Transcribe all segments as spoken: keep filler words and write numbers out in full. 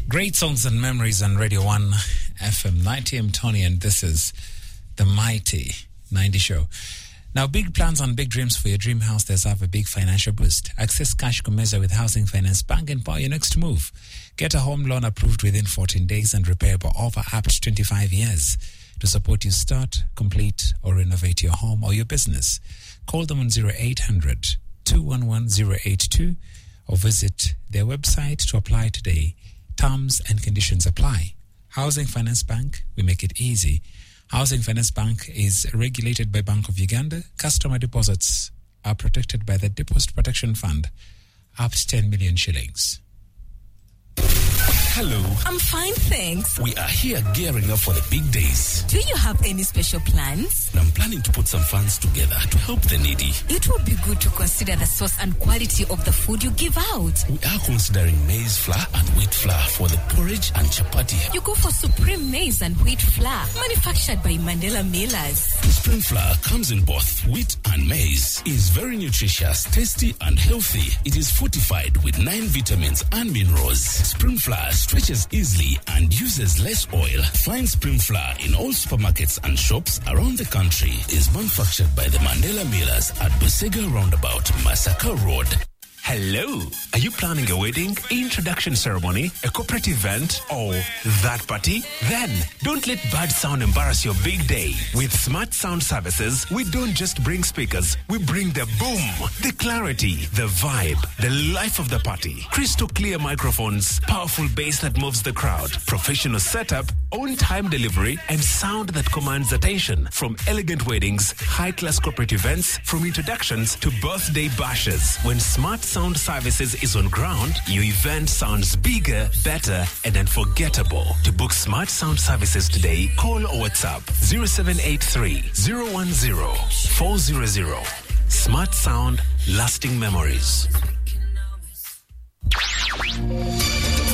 Great songs and memories on Radio one F M ninety. I'm Tony, and this is the Mighty ninety Show. Now, big plans and big dreams for your dream house deserve a big financial boost. Access Cash Kumeza with Housing Finance Bank and power your next move. Get a home loan approved within fourteen days and repayable over up to twenty-five years to support you start, complete, or renovate your home or your business. Call them on zero eight hundred, two one one, zero eight two or visit their website to apply today. Terms and conditions apply. Housing Finance Bank, we make it easy. Housing Finance Bank is regulated by Bank of Uganda. Customer deposits are protected by the Deposit Protection Fund, up to ten million shillings. Hello. I'm fine, thanks. We are here gearing up for the big days. Do you have any special plans? I'm planning to put some funds together to help the needy. It would be good to consider the source and quality of the food you give out. We are considering maize flour and wheat flour for the porridge and chapati. You go for Supreme Maize and Wheat Flour, manufactured by Mandela Millers. Supreme Flour comes in both wheat and maize. Is very nutritious, tasty and healthy. It is fortified with nine vitamins and minerals. Supreme Flour stretches easily and uses less oil. Find Supreme Flour in all supermarkets and shops around the country. Is manufactured by the Mandela Millers at Busega Roundabout, Masaka Road. Hello! Are you planning a wedding, introduction ceremony, a corporate event, or that party? Then, don't let bad sound embarrass your big day. With Smart Sound Services, we don't just bring speakers, we bring the boom, the clarity, the vibe, the life of the party. Crystal clear microphones, powerful bass that moves the crowd, professional setup, on-time delivery, and sound that commands attention. From elegant weddings, high-class corporate events, from introductions to birthday bashes. When Smart Sound Services is on ground, your event sounds bigger, better, and unforgettable. To book Smart Sound Services today, call or WhatsApp zero seven eight three, zero one zero, four zero zero. Smart Sound, lasting memories.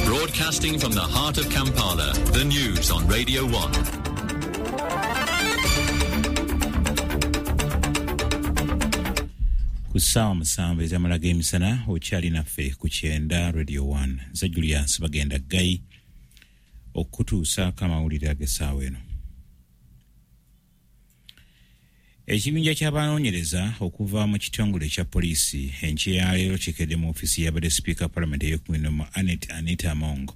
Broadcasting from the heart of Kampala, the news on Radio one. Ku ssaawa musanvu ez'amala g'emisana okyali naffe ku kyenda Radio one. Nze Julius Bagenda Ggayi okutuusaako amawulire ag'essaawa eno. Ekibinja ky'abanoonyereza okuva mu kitongole ekya poliisi enkya ya leero kikedde mu ofiisi y'abadde sipiika Palamenti ey'ekumi n'omu Annet Anita Among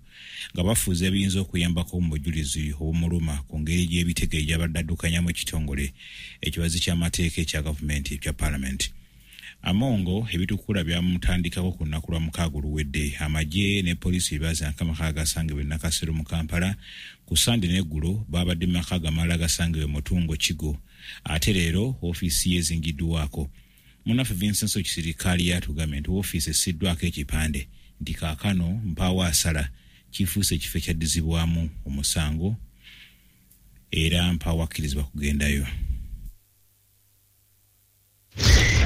nga bafuuza ebiyinza okuyambako mu bujulizi obumuluma ku ngeri gy'ebitege gy'abadde addukanyamu ekitongole ekibazi ky'amateeka ekya gavumenti ekya Palamenti. Amongo ebitukula byamutandikako ku lunaku lwa mukaaga oluwedde. Amagye ne poliisi bye amaka agasangibwa e Nakasero mu Kampala ku Sande n'eggulo babadde mu maka amalala agasangibwa e Mutungo Kigo. Ate leero ofiisi ye ezingiddwako. Munnaffe Vincent Kisirikali yatugambye nti ofiisi essiddwako ekipande nti kaakano mpaawo asala kifuuse ekifo ekyaddizibwamu omusango era mpaawo akkirizibwa kugendayo.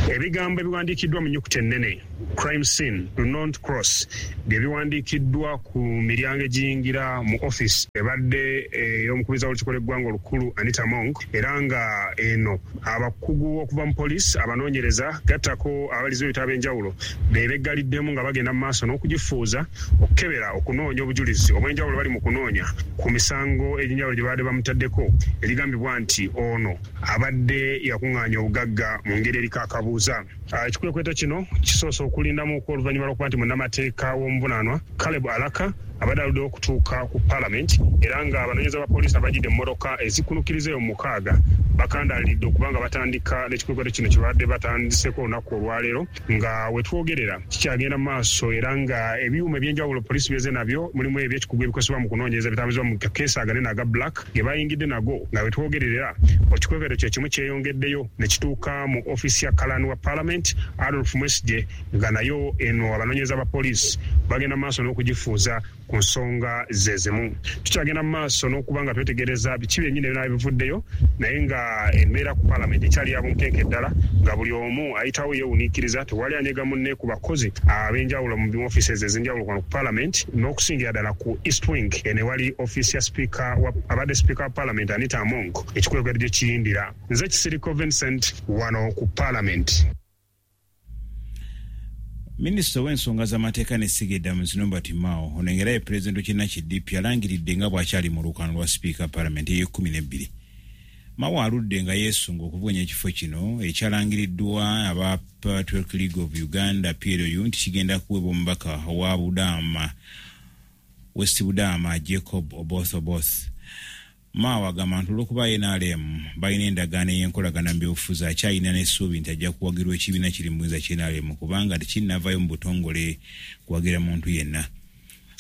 Ebigambo ebiwandiikiddwa mu nnyukuta ennene crime scene do not cross bye biwandiikiddwa ku miryango egiyingira mu office ebadde ey'omukubiriza w'olukiiko lw'eggwanga olukulu Anita Among, era nga eno abakugu okuva mu poliisi abanoonyereza gattako abalizi b'ebitabo ab'enjawulo be beggaliddemu nga bagenda mu maaso n'okugifuuza okukebera okunoonya obujulizi obw'enjawulo bali mu kunoonya ku misango egy'enjawulo gye babadde bamutaddeko erigambibwa nti ono abadde yakuŋŋaanya obugagga mu ngeri eriko akabuuza. Ekikwekweto kino kisoose okulindamu oluvannyuma lw'okuba nti munnamateeka w'omuvunaanwa Caleb Alaka abadde aluddewo okutuuka ku Palamenti, era nga abanoonyereza ba poliisi abajjidde emmotoka ezikunukiriza eyo mukaaga bakandaalidde okuba nga batandika n'ekikwekweto kino kye babadde batandiseeko olunaku olwaleero nga we twogerera kikyagenda mu maaso, era nga ebyuma ebyenjawulo poliisi byeze nabyo mulimu ebyekikugu ebikozesebwa mu kunoonyereza bitambuzibwa mu kakeesi aganene aga black ge bayingidde nago nga we twogerera ekikwekweto kye kimu kyeyongeddeyo ne kituuka mu ofiisi ya Kalani wa Palamenti Adolf Mwesigye nga nayo eno abanoonyereza ba poliisi bagenda mu maaso n'okugifuuza ku nsonga ze zimu. Tukyagenda mu maaso n'okuba nga twetegereza biki byennyini ebinaaba bivuddeyo, naye nga embeera ku Palamenti ekyali ya bunkenke ddala nga buli omu ayitawo yeewuniikiriza, tewali anyega munne ku bakozi ab'enjawulo mu offices ez'enjawulo kuno ku Palamenti n'okusingira ddala ku East Wing eno ewali ofiisi ya sipiika abadde sipiika wa Palamenti Anita Among ekikwekweto gye kiyindira. Nze Kisiriko Vincent wano ku Palamenti. Minisita w'ensonga z'amateeka n'essiga eddamuzi Norbert Mao ono engera ye pulezidenti w'ekibiina ki D P alangiridde nga bw'akyali mu lukano lwa sipiika palamenti ey'ekkumi n'ebbiri. Mao aludde nga yeesunga okuvuganya ekifo kino ekyalangiriddwa aba Patriotic League of Uganda P L U nti kigenda kuweebwa omubaka wa Budaama West Budaama Jacob Oboth Oboth. Mao agamba nti olw'okuba N R M balina endagaano ey'enkolagana mu byobufuzi akyalina n'essuubi nti ajja kuwagirwa ekibiina kiri mu buyinza kya N R M kubanga tekinnavaayo mu butongole kuwagira muntu yenna.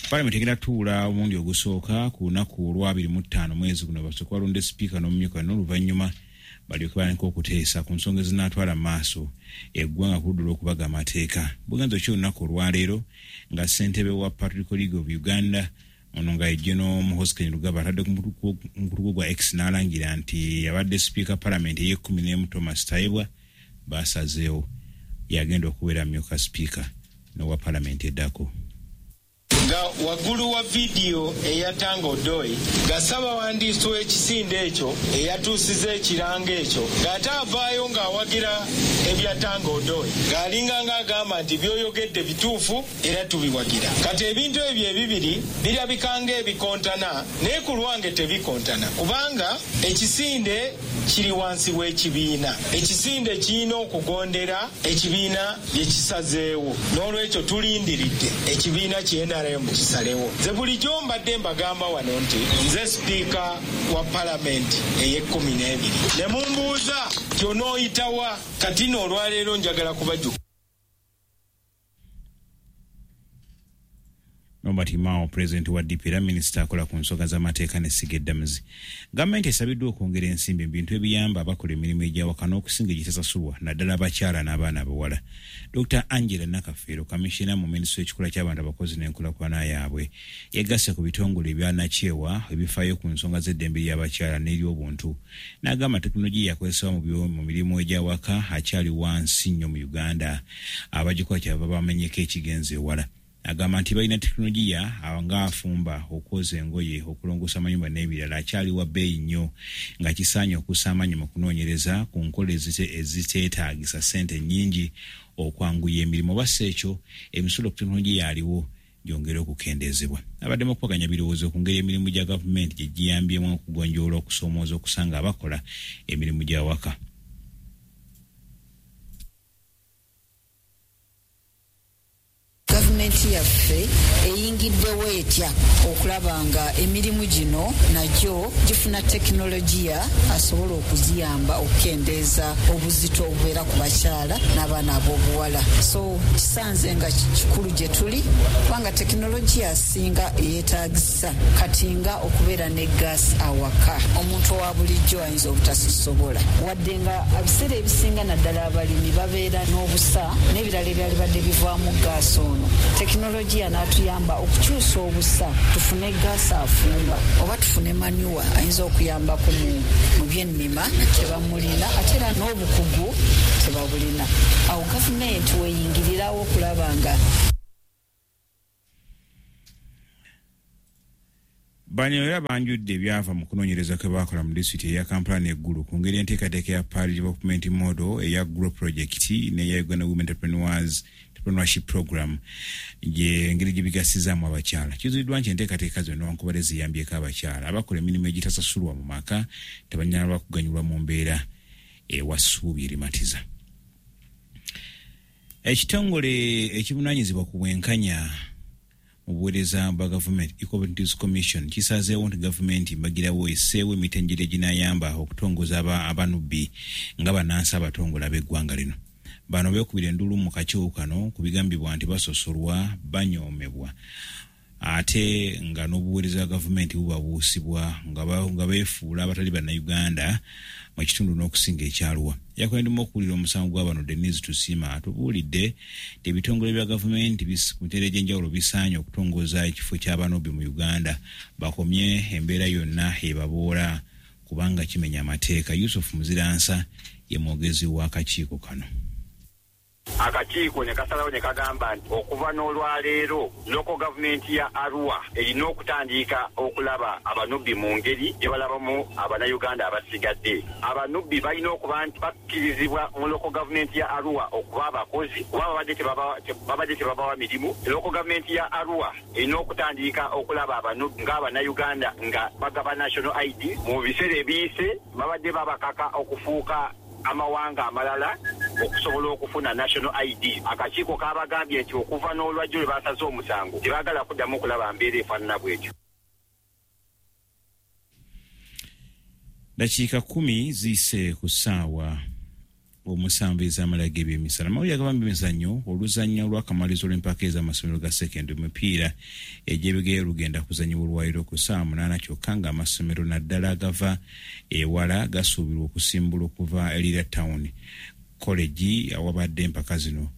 Palamenti egenda tuula omulundi ogusooka ku lunaku olwa abiri mu ttaano mwezi guno basooke balonde sipiika n'omumyuka n'oluvannyuma balyoke batandike okuteesa ku nsonga ezinaatwala mu maaso eggwanga ku ludda olw'okubaga amateeka. Bugenzo ki olunaku olwaleero nga ssentebe wa Patriotic League of Uganda ono nga ye General Muhoozi Kainerugaba atadde ku mukutu gwa X n'alangira nti yabadde sipiika palamenti ey'ekkumi n'emu Thomas Tayebwa basazeewo yagenda okubeera myuka sipiika n'owa palamenti eddako. Nga waggulu wa vidiyo eyatanga Odoi nga ssabawandiisi w'ekisinde ekyo eyatuusiza ekirango ekyo ng'ate avaayo ng'awagira ebyatanga Odoi ng'alinga ng'agamba nti by'oyogedde bituufu era tubiwagira. Kati ebintu ebyo ebibiri birabika ng'ebikontana naye ku lwange tebikontana kubanga ekisinde kiri wansi w'ekibiina. Ekisinde kirina okugondera ekibiina bye kisazeewo, n'olwekyo tulindiridde ekibiina ki N R M kisalewo. Nze bulijjo mbadde mbagamba wano nti nze sipiika wa palamenti ey'ekkumi n'ebiri ne mumbuuza nti onooyitawa. Kati nno olwaleero njagala kubajjuka. Norbert Mao pulezidenti wa D P era minisita akola ku nsonga z'amateeka n'essiga eddamuzi. Gavumenti esabiddwa okwongera ensimbi mu bintu ebiyamba abakola emirimu egy'awaka n'okusinga egitasasulwa naddala abakyala n'abaana abawala. Dokita Angela Nakafeero kamishina mu minisitule y'ekikula ky'abantu abakozi n'enkulaakulana yaabwe yegasse ku bitongole ebya nnakyewa ebifaayo ku nsonga z'eddembe ly'abakyala n'ery'obuntu n'agamba tekinologiya yakozesebwa mu mirimu egy'awaka akyali wansi nnyo mu Uganda abagikola kyava bamenyeko ekigenze ewala. Agamba nti balina tekinologiya ng'afumba, okwoza engoye, okulongoosa amayumba n'ebirala akyali wa bbeeyi nnyo nga kisaanye okussa amaanyi mu kunoonyereza ku nkola eziteetaagisa ssente nnyingi okwanguya emirimu oba si ekyo emisolo ku tekinologiya aliwo gyongere okukendeezebwa. Abaddemu okukubaganya birowoozo ku ngeri emirimu gya gavumenti gye giyambyemu okugonjoola okusoomooza okusanga abakola emirimu gy'awaka. Gavumenti yaffe eyingiddewo etya okulaba nga emirimu gino nagyo gifuna tekinologiya asobola okuziyamba okukendeeza obuzito obubeera ku bakyala n'abaana ab'obuwala. So kisanze nga kikulu gye tuli kubanga tekinologiya asinga eyeetaagisa kati nga okubeera ne gaasi awaka omuntu owa bulijjo ayinza obutasisobola, wadde nga ebiseera ebisinga naddala abalimi babeera n'obusa n'ebirala ebyalibadde bivaamu gaasi ono. Tekinologiya n'atuyamba okukyusa obusa tufune gaasi afumba oba tufune manyuwa ayinza okuyambako mu byennima tebamulina ate era n'obukugu tebabulina. Awo gavumenti weeyingirirawo okulaba nga Bano era banjudde ebyava mu kunoonyereza kwe baakola mu disitulikiti eya Kampala n'Eggulu ku ngeri enteekateeka ya Parish Development Model eya Grow Project n'eya Uganda Women Entrepreneurs Entrepreneurship Program gye engeri gye bigasizaamu abakyala. Kizuuliddwa nti enteekateeka zino newankubadde ziyambyeko abakyala abakola emirimu egitasasulwa mu maka tebanyala kuganyulwa mu mbeera ewa ssuubi erimatiza. Ekitongole ekivunaanyizibwa ku bwenkanya mu buweereza bwa gavumenti Equal Opportunities Commission kisazeewo nti gavumenti mbagirawo esseewo emitendera eginaayamba okutongoza abanubbi nga bannansi abatongole ab'eggwanga lino. Bano beekubira enduulu mu kakiiko kano ku bigambibwa nti basosolwa, banyoomebwa ate nga n'obuweereza bwa gavumenti bubabuusibwa nga beefuula abatali bannayuganda mu kitundu n'okusinga ekyaluwa. Yakulembeddemu okuwulira omusango gwa bano Denise Tusiima atubuulidde nti ebitongole bya gavumenti ku mitendera egy'enjawulo bisaanye okutongoza ekifo ky'abanubbi mu Uganda bakomye embeera yonna ebaboola kubanga kimenya amateeka. Yusuf Muziransa ye mwogezi w'akakiiko kano. Akakiiko ne kasalawo ne kagamba nti okuva n'olwaleero local government ya Arua erina okutandika okulaba abanubbi mu ngeri gye balabamu abannayuganda abasigadde. Abanubbi balina okuba nti bakkirizibwa mu local government ya Arua okuba abakozi kuba babadde tebabawa mirimu. Local government ya Arua erina okutandika okulaba abanubbi ng'abannayuganda nga bagaba national I D. Mu biseera ebiyise babadde babakaka okufuuka amawanga amalala okusobola okufuna national I D. Akakiiko kabagambye nti okuva n'olwajjo lwe basaze omusango tebaagala kuddamu okulaba mbeera efaanana bw'etyo. Dakiika kumi ziyise ku ssaawa omusanvu ez'amala g'ebyemisana. Amawulire agava mu byemizannyo, oluzannya olw'akamalirizo lw'empaka ez'amasomero ga sekendule emipiira egy'ebigere lugenda kuzannyibwa olwaleero ku ssaawa munaana, kyokka ng'amasomero naddala agava ewala gasuubirwa okusimbula okuva e Lira Town College awabadde empaka zino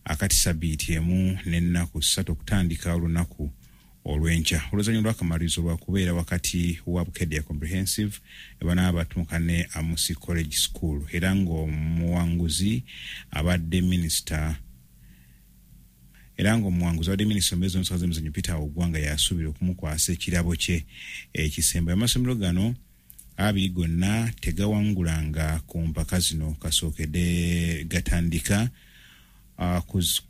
akati sabbiiti emu n'ennaku ssatu okutandika olunaku olw'enkya. Oluzannya lw'akamalirizo lwakubeera wakati wa Bukedea Comprehensive ebanaaba batuuka ne Amusi College School, era ng'omuwanguzi abadde minisita era ng'omuwanguzi abadde minisita omubeezi w'ensonga z'emizannyo Peter Ogwanga yasuubira okumukwasa ekirabo kye ekisemba. Amasomero gano abiri gonna tegawangulanga ku mpaka zino kasookedde gatandika Uh,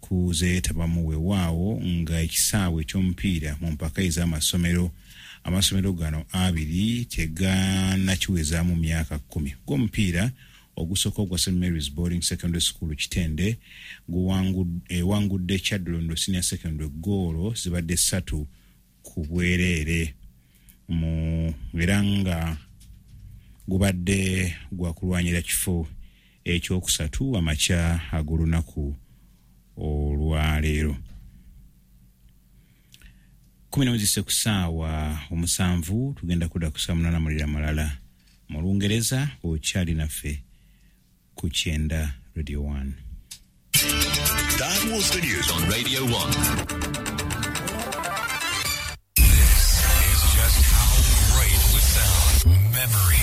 kuzeetabamu weewaawo nga ekisaawe eky'omupiira mu mpaka ez'amasomero amasomero gano abiri tegannakiwezaamu myaka kkumi. Gw'omupiira ogusooka ogwa Saint Mary's Boarding Secondary School Kitende ewangudde Kyaddondo Senior Secondary goolo zibadde ssatu ku bwereere mu era nga gubadde gwakulwanyira kifo ekyokusatu amakya ag'olunaku olwaleero. Kumi n'emu zisse ku ssaawa omusanvu, tugenda kudda ku ssaawa munaana mulira malala mu Lungereza. Okyali naffe ku Kyenda Radio one. That was the news on Radio one. This is just how great would sound. Memory.